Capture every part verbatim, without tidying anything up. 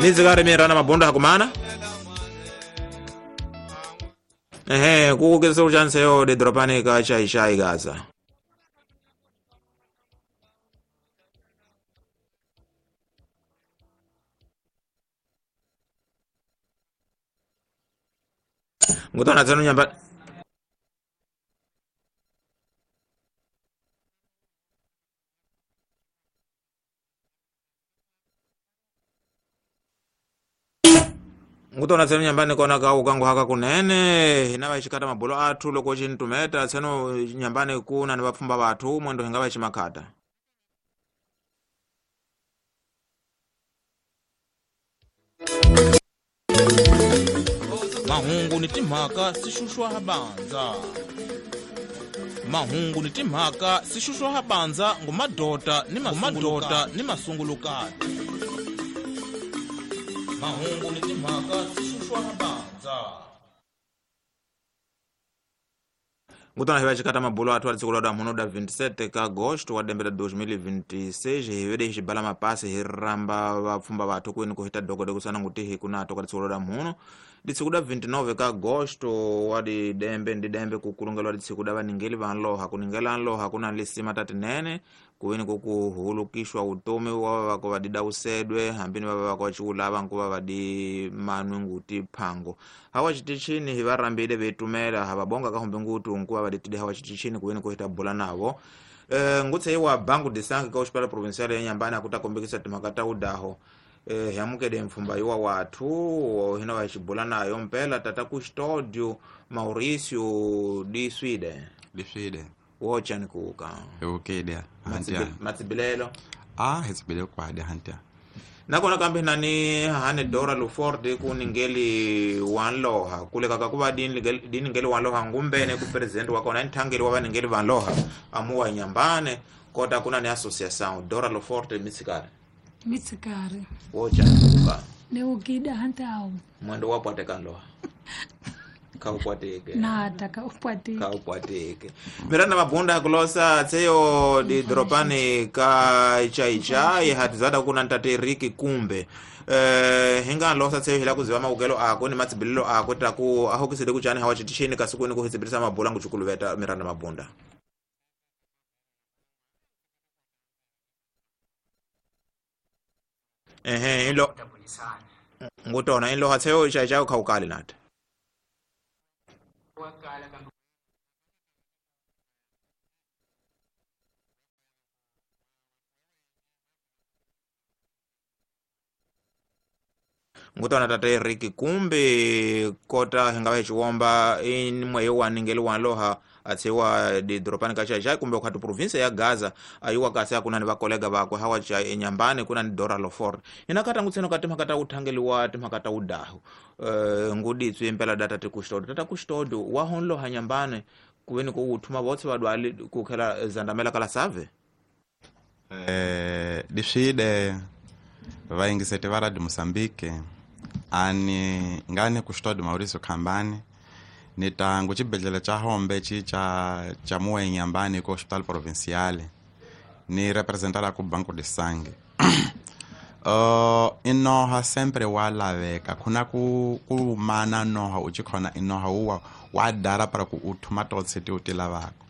Nizikari mirana mabunda hakumana. Ehe, kukukisa uchanse yo de dropani ka chai chai Gaza. Ngutona tsenu nyamba Ngutona tsenu nyambani kona ka ukangu haka kunene hina vachikata mabulo athu loko chintumeta tsenu nyambani kuna ni vapfumba vathu mwendo hinga vachimakhata. Mahungu ni timhaka sixuxwa habanza. Mahungu ni timhaka sixuxwa habanza ngumadota ni mamadota ni masungulukati. Mahungu ni timhaka sixuxwa habanza. Ngutona hiva chikata mabulo athu ali da muno da vinte e sete ka agosto wa dembe da dois mil e vinte e seis hivede hixibala mapasi hiramba vapfumba vathu kwini kuhita dogode kusana nguti hikunato ka tsiku da muno ditsiku da vinte e nove ka agosto wa di dembe ndi dembe kukulungelwa ditsiku da vaningeli vanloha kuningela nloha kuna lisima tatinene kuwini kukuhulukishwa utomi wa vako vadida usedwe hambini vava vako vachiulava nkuva vadi manwe nguti phango hawa chitichini hivarambile vetumela havabonga kahumbe ngutu nkuva vaditide hawa chitichini kuwini kuhita bula navo e, ngutse bangu disangi ka hospital provincial ya Nyambani akutakombekisa timakata udaho e, yamukede mfumba yuwa wathu hina vachibula nayo mpela tata Custódio Mauricio di Sweden di Sweden wochani kuka ukede hantia matsibilelo ah hetsibile kwade hantia nakona kambe nani hane Dora Luford kuningeli wanloha kuleka kakuva diningeli wanloha ngumbene ku president wakona nthangeli wa vaningeli vanloha amuwa Nyambane kota kuna ni association Dora Luford mitsikari mitsikari wochani kuka ne ukida hantao mwendo wapo atekanloha kaupwateke nata kaupwateke kaupwateke miranda mabunda kulosa tseyo di dropani ka chai chai hatizada kuna ntate Riki Kumbe eh hinga losa tseyo hila kuziva maukelo ako ni matsibilelo ako taku ahokisele kuchani hawachitishini kasukuni kuhitsibirisa mabula nguchukuluveta miranda mabunda ehe ilo ngutona ilo hatseyo chai chai kaukali nata ngutona tate Riki Kumbe kota hinga chiwomba in mwe wa ningeli wanloha atsiwa di dropani ka chai kumbe khatu province ya Gaza ayuwa kasi kuna ni vakolega vakwe hawa cha Nyambane kuna ni Dora Loford inakata ngutseno kati makata uthangeliwa timakata udahu e, nguditswe impela data tikustodo tata kustodo wa honlo ha Nyambane kuweni ku uthuma botse badwali kukhela zandamela kala save eh diside vaingisete va Radio Mozambique ani ngane Custódio Mauricio Khambani ni tangu chibedlele cha hombe chi cha cha muwe Nyambani ko hospital provincial ni representara ku Banco de Sangue uh inoha sempre wa laveka kuna ku ku mana noha uchikhona inoha uwa wa dara para ku uthuma totse ti utilavako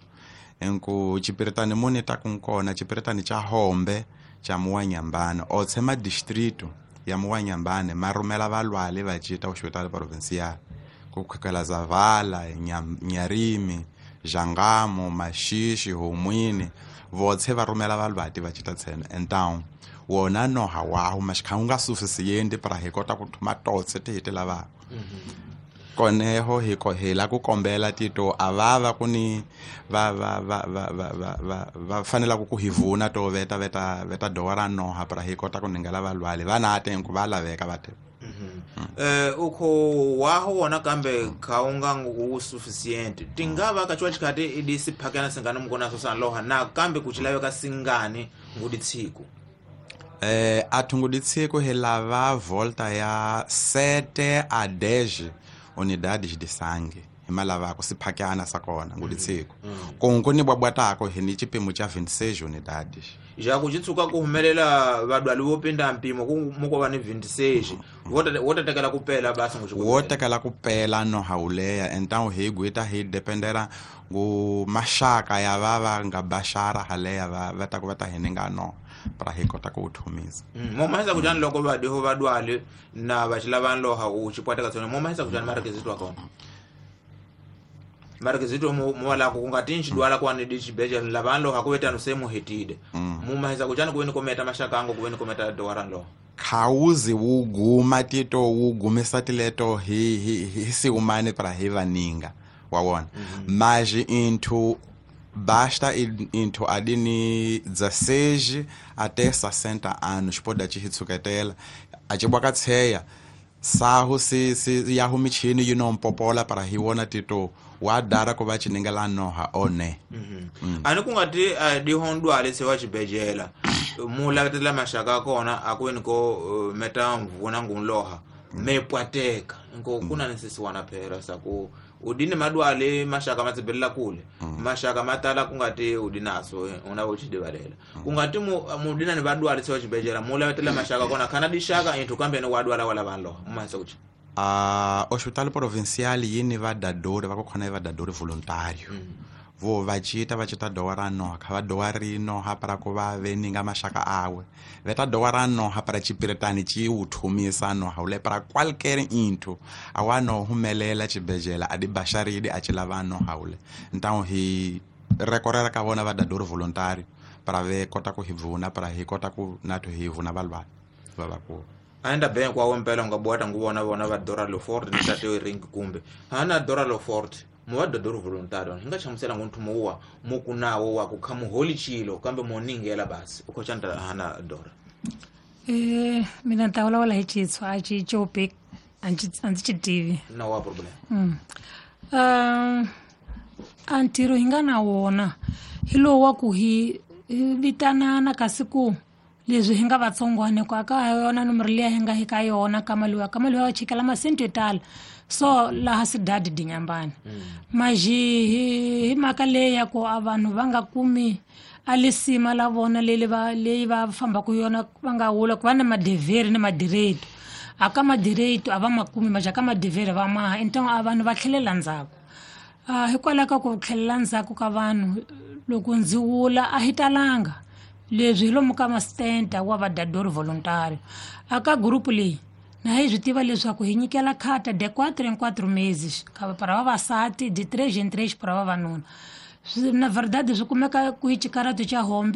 enku chipiritani muni ta kunkona chipiritani cha hombe cha muwa Nyambani otse ma distrito ya muwa Nyambani marumela valwale vachita hospital provincial kukhakela Zavala, Nyarimi, Jangamo, Mashishi, Homwini votse va rhumela valwati va chita tsena então wona noha waho maxikha unga suficiente para hi kota ku thuma totse ti hi ti lavaka koneho hi ko hi la ku kombela tito a va va ku ni va va va va va va va va fanela ku ku hi vuna to veta veta veta dora noha para hi kota ku ningela valwali va na te ku va laveka va te eh ukho waho wona kambe khaunga ngu sufficient tingava ka chwa chikati idisi phakana singani mukona so sanloha na kambe kuchilaveka singani nguditshiku eh athunguditshiku hi lava volta ya sete a dez unidades de sangue hi malavako siphakyana sa kona ngulitsiko konko ni bwabwatako hi ni chipimo cha vinte e seis unidades. Ja ku chitsuka ku humelela vadwali vo pinda mpimo ku muko va ni vinte e seis wo tekela ku pela basi ngu wo tekela ku pela no hauleya. Então hi gwita hi dependera ngu maxaka ya va va nga baxara haleya va va ta ku va ta hi ninga no para hi kota ku thumisa. Mo mahisa ku jani loko va diho vadwali na va xilava loha u xipwateka tsona mo mahisa ku jani marequisito wa kona marequisito mo mo la ku nga tinxi dwala kwa ni dixibejele lava loha ku vetano se mu hetide mu mahisa ku jani ku weni kometa maxaka ango ku weni kometa dora loha khawuzi wu guma tito wu gumisa tileto hi hi hi siumane para hi vaninga wa wona mas into basta into adini dezesseis até sessenta anos pode te hitsuketela a tshibwaka tsheya sahu si si ya humichini you know mpopola para hi wona tito wa dara ko va chiningela noha one. Ani ku nga ti di hondwale se wa xibejela mu lavetela maxaka kona a ku weni ko meta mvuna ngunloha me pwateka nko kuna ni sisiwana phela sa ku udini madwale maxaka ma tsibelela kule maxaka ma tala ku nga ti udinaso una vo xidivalela ku nga ti mu mudina ni vadwale se wa xibejela mu lavetela maxaka kona khana dixaka inthu kambe ni wadwala wala vanhu loha mu mahisa ku a hospital provincial yini va dadori va ku khona va dadori voluntário vo va cita va cita doa noha kha va doa rino ha para ku va veninga maxaka awe veta doa noha para chipiretani chi wu thumisa noha ule para qualquer inthu awa no humelela chibejela adi baxaridi a chilava noha ule. Então hi recorrera ka vona va dadori voluntário para ve kota ku hi vuna para hi kota ku nathu hi vuna valwa va va ku aenda ben kwa wompela nga bwata nguvona vona va Dora Lofort ni tate ring kumbe hana Dora Lofort mu va dadori voluntário hi nga hlamusela ngo nthumo wa mu kunawo wa ku kha muholi chilo kambe mo ningela basi u khochanda hana Dora. Eh mina nta vulavula hi Xitswa a xi copi a ndzi a ndzi xi tivi na wa problem. Mm. Um a ntirho hi nga na wona hi lowu wa ku hi vitanana kasi ku leswi hi nga vatsongwana ku aka yona nomoro liya hi nga hi ka yona ka mali wa ka mali wa chikela masente yo tala so laha sidadi dinyambana maji hi mhaka leyi ya ku a vanhu va nga kumi a lisima la vona leli va leyi va fambaka yona va nga wula ku va na madeveri na madireto a ka madireto a va ma kumi maja ka madeveri va maha então a vanhu va tlhelela ndzhaku. Uh, hikwalaho ka ku tlhelela ndzhaku ka vanhu loko ndzi wula a hi talanga leswi hi lomu ka masitenta wa vadadori voluntário a ka gurupu leyi na hi swi tiva leswaku hi nyikela khata de quatro em quatro meses para vavasati de três em três para vavanuna. Na verdade swi kumeka ku hi xikarato xa hombe.